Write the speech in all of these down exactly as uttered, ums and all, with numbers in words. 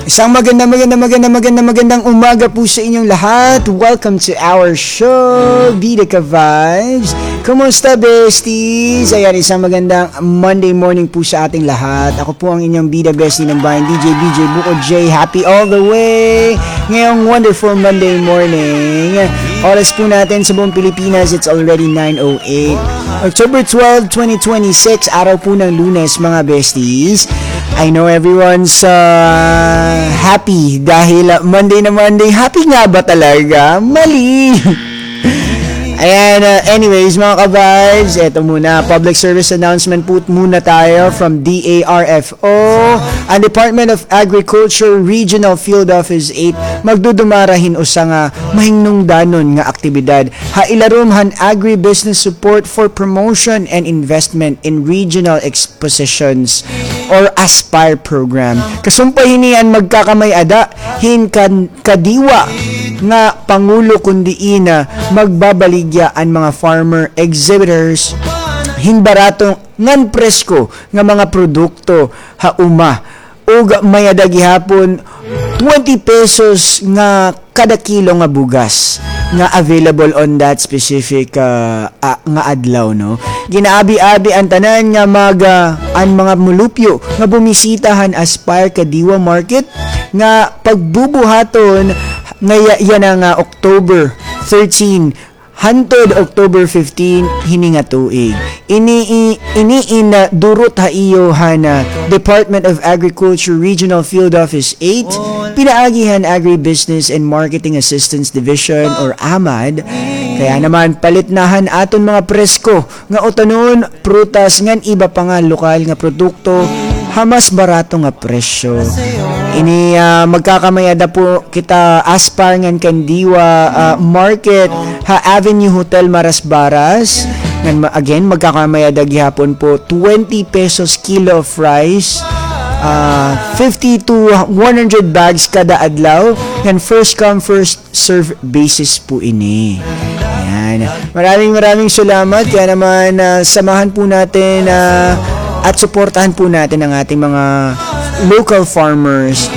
Isang maganda, maganda, maganda, maganda, magandang umaga po sa inyong lahat. Welcome to our show, Bida Ka Vibes. Kumusta, besties? Ayan, isang magandang Monday morning po sa ating lahat. Ako po ang inyong bida bestie ng bayan, D J B J Buko J. Happy all the way ngayong wonderful Monday morning. Oras po natin sa buong Pilipinas, it's already nine oh eight. October twelve, twenty twenty-six, araw po ng Lunes, mga besties. I know everyone's uh, happy dahil uh, Monday na Monday. Happy nga ba talaga? Mali! Ayan, uh, anyways, mga ka-vibes, eto muna, public service announcement po muna tayo from D A R F O, ang Department of Agriculture Regional Field Office eight, magdudumara hin usa nga mahingnungdanon nga aktibidad ha ilarom han Agribusiness Support for Promotion and Investment in Regional Expositions or ASPIRE program. Kasumpay hini an magkakamay-ada hin kan-, kadiwa nga pangulo kun diin, ah, magbabaligya an mga farmer exhibitors hin barato ngan presko nga mga produkto ha uma, ug may-ada gihapon twenty pesos nga kada kilo nga bugas nga available on that specific, ah, ah, nga adlaw, no? Ginaabi-abi an tanan nga mag, ah, an mga mulupyo nga bumisita han Aspire Kadiwa Market nga pagbubuhaton nga ya-, yana nga October thirteen hantod October fifteen hini nga tuig. Ini, i-, ini in, ah, durot ha iyo han, ah, Department of Agriculture Regional Field Office eight, pinaagi han Agribusiness and Marketing Assistance Division or AMAD. Kaya naman, palit na han aton mga presko nga utanon, prutas, ngan iba pa nga lokal nga produkto ha mas barato nga presyo. Ini, ah, magkakamay-ada po kita Aspire ngan Kandiwa, ah, Market ha Avenue Hotel Marasbaras. Ngan ma-, again, magkakamay-ada gihapon po twenty pesos kilo of rice, ah, fifty to one hundred bags kada adlaw. Ngan first come, first serve basis po ini. Ayan. Maraming, maraming salamat. Kaya naman, ah, samahan po natin, ah, at suportahan po natin ang ating mga local farmers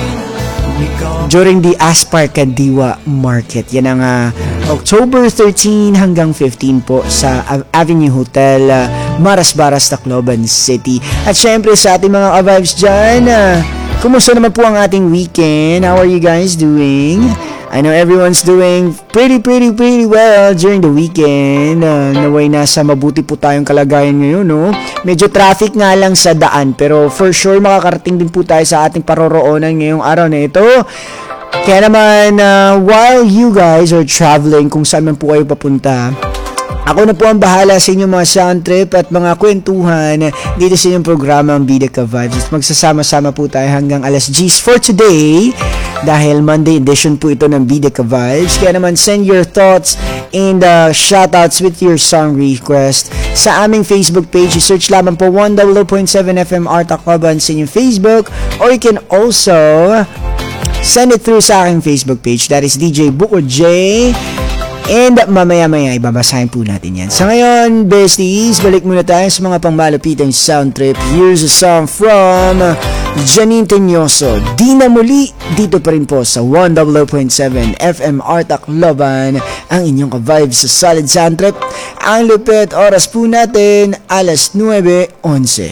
during the Aspire Kadiwa Market. Yan ang, ah, October thirteen hanggang fifteen po sa Av-, Avenue Hotel, ah, Marasbaras, Tacloban City. At syempre sa ating mga ka-vibes dyan, ah, kumusta naman po ang ating weekend? How are you guys doing? I know everyone's doing pretty, pretty, pretty well during the weekend. Ah, naway nasa mabuti po tayong kalagayan ngayon, no? Medyo traffic nga lang sa daan, pero for sure makakarating din po tayo sa ating paroroonan ngayong araw na ito. Kaya naman, ah, while you guys are traveling, kung saan man po kayo papunta, ako na po ang bahala sa inyong mga sound trip at mga kwentuhan dito sa inyong programa, ang Bida Ka Vibes. At magsasama-sama po tayo hanggang alas diyes for today dahil Monday edition po ito ng Bida Ka Vibes. Kaya naman, send your thoughts and, uh, shoutouts with your song request sa aming Facebook page. I-search lamang po one oh oh point seven F M R Tacloban sa inyong Facebook, or you can also send it through sa aking Facebook page. That is D J Buko J. And mamaya-maya, ibabasahin po natin yan. Sa ngayon, besties, balik muna tayo sa mga pangmalupitang sound trip. Here's a song from Janine Teñoso, Di Na Muli, dito pa rin po sa one oh oh point seven F M R Tacloban, ang inyong ka-vibe sa solid sound trip. Ang lupit, oras po natin, alas nuwebe onse.